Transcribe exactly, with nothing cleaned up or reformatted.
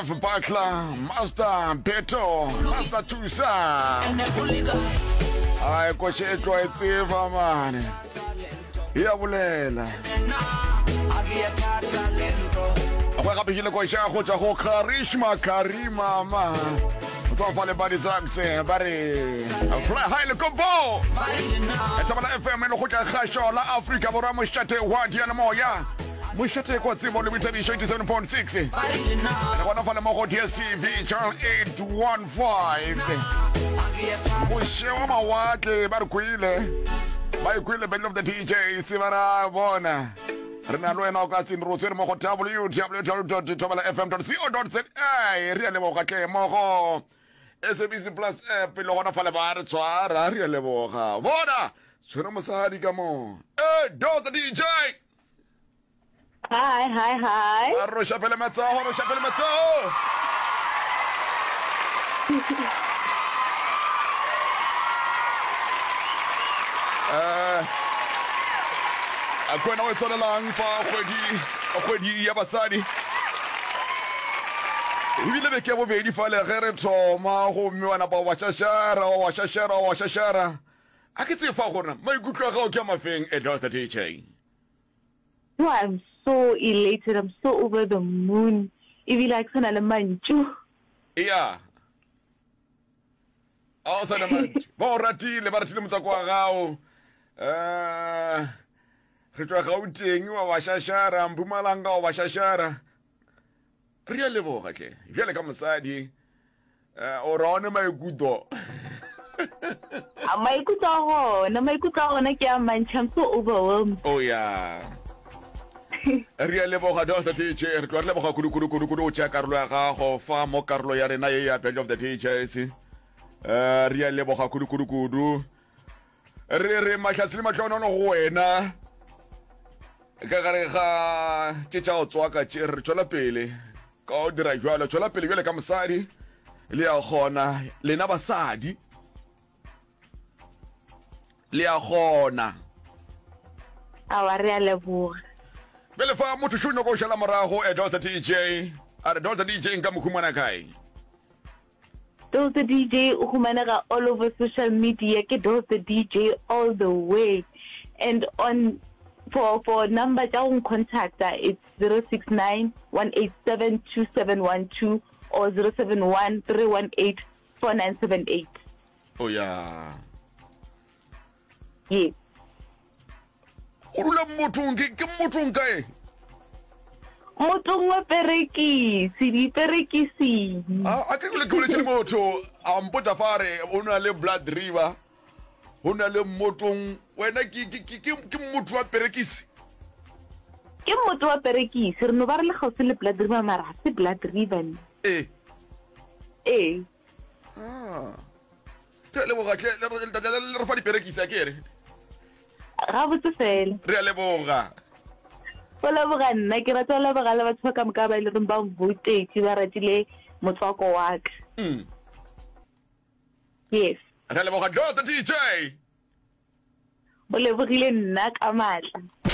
F Butler, Master Beto, Master Thusa. Ai koše e tloa e tseba mane. Ya bolela. Go gape ke le koša go tšwa go Karishma Karima ma. Go fa le Buddy Sachs ba re Fly High le Kompo. Thobela F M e le go tla kgašo la Afrika Borwa, mošate wa diyalemoya, mošate kwa tsebo le boithabišo, eighty-seven point six. Re gona fa le mo go D S T V channel eight one five. Moše wa mawatle ba re kwele, ba e kwele Battle of the D Js, ba ra bona re na le wena o ka tsene ro tswere mo go W W W thobela F M co za. Re a leboga tle mo go S A B C Plus app le gona fale ba re tshwara. Re a leboga. Bona tshwere mosadi ka mo e Dotsa D J. Hi, hi, hi. A roša pele matsogo, roša pele matsogo. Eh, a ke wena o e tswalelang fa kgwedi kgwedi ya basadi ebile beke ya bobedi fale ge re thoma, gomme wa napa wa šašara, wa šašara, wa šašara. A ke tsee fa gona maikutlo a gago ke a mafeng, Edotha D J? No, I'm so elated. I'm so over the moon. Ebile a ke sana le mantšu. Ea, a o sa le mantšu. Ba o ratile, ba ratile motswako wa gago. Um re tšwa Gauteng wa ba šašara, Mpumalanga wa ba šašara. Re a leboga tle. Bjale ka mosadi um o ra one maikutlo? A maikutlo a gona, maikutlo a gona ke a mantši. I'm so overwhelmed. Oh ya, re a leboga Doctor D J. Re tloga re leboga kudu kudu kudu kudu o tšea karolo ya gago fa mo karolo ya rena ye ya Battle of the D Js. um re a leboga kudu kudu kudu. Re re mahlatse le mahlonono go wena ka gare ga tše tša go tswaka tše. Re tšwela pele ka go dira jalo, tšwela pele bjale ka mosadi, le ya kgona lena basadi, le ya kgona. Awa, re a leboga. Bjale fa motho šo nyoko o šala morago e Doctor D J, a re Doctor D J nka mo humana kae? Dolce D J o humanega all over social media, ke Dolce D J all the way. And on for for number tša go ncontacta, it's zero six nine, one eight seven two seven one two or zero seven one, three one eight four nine seven eight. O ya. Yes. O dula Mmothong, ke ke Mmothong kae? Mothong wa perekisi, diperekising. A a ke ke boletše le motho a mpotsa fa re o na le Blood River, go na le Mmotong. Wena ke ke ke ke ke motho wa perekisi? Ke motho wa perekisi, re no ba re le kgauswi le Blood River, mara ga se Blood River ne. Ee. Ee. Ah. Re a leboga tle, le re le re fa diperekisi a ke re. Gabotse fela. Re a leboga. Go leboga nna, ke rata go leboga le batho ba ka moka ba e leng ba mvoutetše, ba ratile motswako wa ka. Mm. Yes. Re a leboga Doctor D J. O lebogile nna ka maatla.